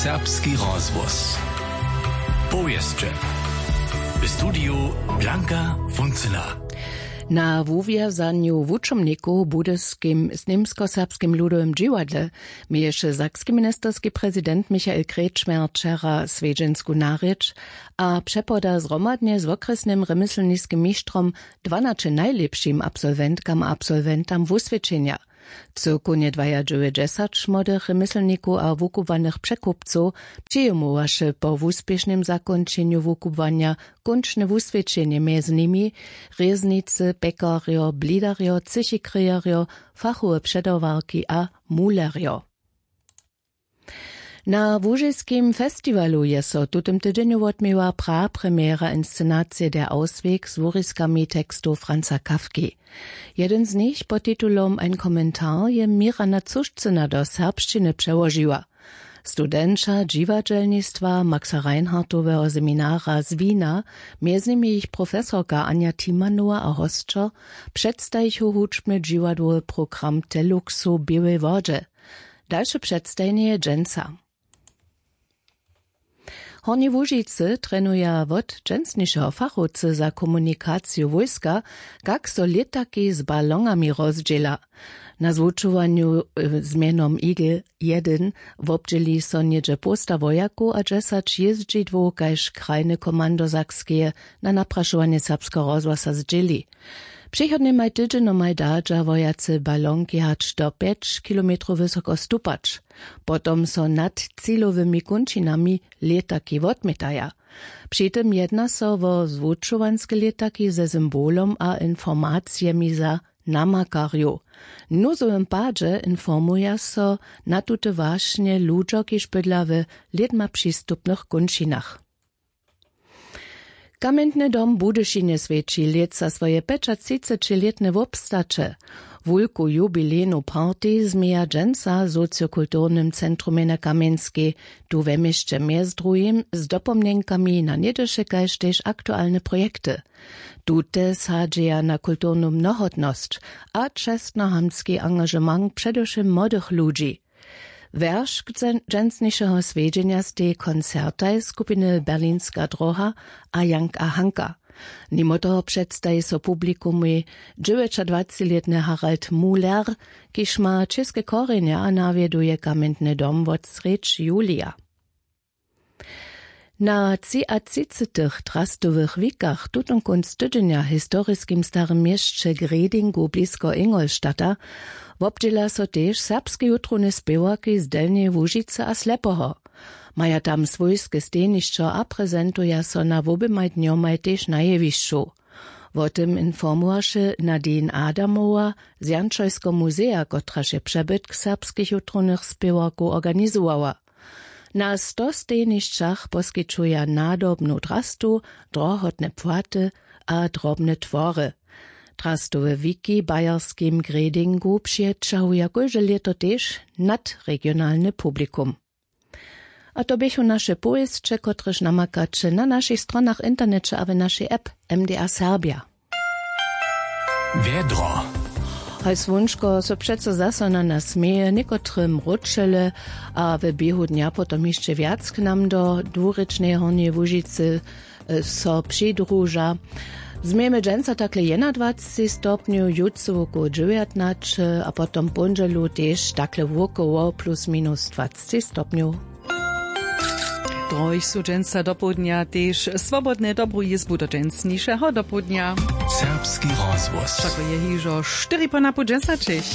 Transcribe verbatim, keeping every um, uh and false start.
Serbski rozhłos. Powěsće. W studiju Blanka Funcyna. Na wuwězanju wučomnikow w budyskim z němskoserbskim ludowym dźiwadle měješe sakski ministerski prezident Michael Kretschmer wčera swjedźensku narěč a přepoda zhromadnje z wokrjesnym rymyslniskim mištrom dwanaće najlěpšim absolwentkam a absolwentam wuswědčenja. Cyłkownje dwajadźewjećdźesat młodych rymyslnikow a wukubłanych překupcow přijimowaše po wuspěšnym zakónčenju wukubłanja kónčne wuswědčenje, mjez nimi rěznicy, pjekarjo, blidarjo, třěchikryjerjo, fachowe předawarki a mulerjo. Na łužiskim festiwalu je so w tutym tydźenju wotměła prapremjera inscenacije Der Ausweg z wuriskami tekstow Franza Kafki. Jedyn z nich pod titulom Ein Kommentar je Mirana Cušcyna do serbšćiny přełožiła. Studenća dźiwadźelnistwa Maxa Reinhardtoweho seminara z Wina, mjez nimi jich profesorka Anja Timanowa a hosćo, předstajichu hudźbny dźiwadłowy program Teluxow w Běłej Wodźe. Dalše předstajenje je dźensa. W Hornjej Łužicy trenuja wot dźensnišeho fachowcy za komunikaciju wójska, kak so lětaki z balonami rozdźěla. Na zwučowanju z mjenom Eagle jedyn wobdźěli so něhdźe połsta wojakow a dźesać jězdźidłow kaž krajne komando Sakskeje na naprašowanje Serbskeho rozhłasa zdźěli. Přichodnjemaj tydźenjomaj dadźa wojace balonki hač do pjeć kilometrow wysoko stupać. Potom so nad cilowymi kónčinami lětaki wotmětaja. Při tym jedna so wo zwučowanske lětaki ze symbolom a informacijemi za namakarjow. W nuzowym padźe informuja so na tute wašnje ludźo, kiž bydla w lědma přistupnych kónčinach. Kamjentny dom w Budyšinje swjeći lětsa swoje pjećatřicećilětne wobstaće. Wulku jubilejnu party změja dźensa w sociokulturnym centrumje na Kamjenskej, tu we měsće mjez druhim z dopomnjenkami na něhdyše kaž tež aktualne projekty. Tute sadźeja na kulturnu mnohotnosć a čestnohamtski angažement předewšěm młodych ludźi. Wjeršk dźen-, dźensnišeho swjedźenja stej koncertaj skupiny Berlinska dróha a Jank a Hanka. Nimo toho předstaji so publikumej dźewjećadwacećilětny Harald Muhler, kiž ma česke korjenje a nawjeduje kamjentny dom wot srjedź julija. Na třiatřicetych trastowych wikach tutón kónc tydźenja w historiskim starym měsće Gredingu blisko Ingolstadta wobdźěla so tež serbske jutrowne spěwarki z Delnjeje Łužicy a Slepoho. Maja tam swójske stejnišćo a prezentuja so na woběmaj dnjomaj tež na jewišću. Wo tym informowaše Nadine Adamowa z Jančojskeho muzeja, kotraž je přebytk serbskich jutrownych spěwarkow organizowała. Na sto stejnišćach poskićuja nadobnu drastu, drohotne płaty a drobne twory. Drastowe wiki w bayerskim Gredingu přećahuja kóžde lěto tež nadregionalny publikum. A to běchu naše powěsće, kotrež namakaće na našich stronach, w interneće a w našej app M D R Serbja. Wjedro. Haj słónčko so přeco zaso na nas směje, někotre mróčele a w běhu dnja potom hišće wjac k nam do dwurěčneje Hornjeje Łužicy, e, so přidruža. Změjemy dźensa takle jedynadwacci stopnjow, jutře wokoło dźewjatnaće a potom póndźelu tež takle wokoło plus minus dwacci stopnjow. Druhich su dźensa dopołdnja tež swobodne dobru jězbu do dźensnišeho dopołdnja. Serbski rozhłos. Wšako je hižo štyri po napoł dźesaćich.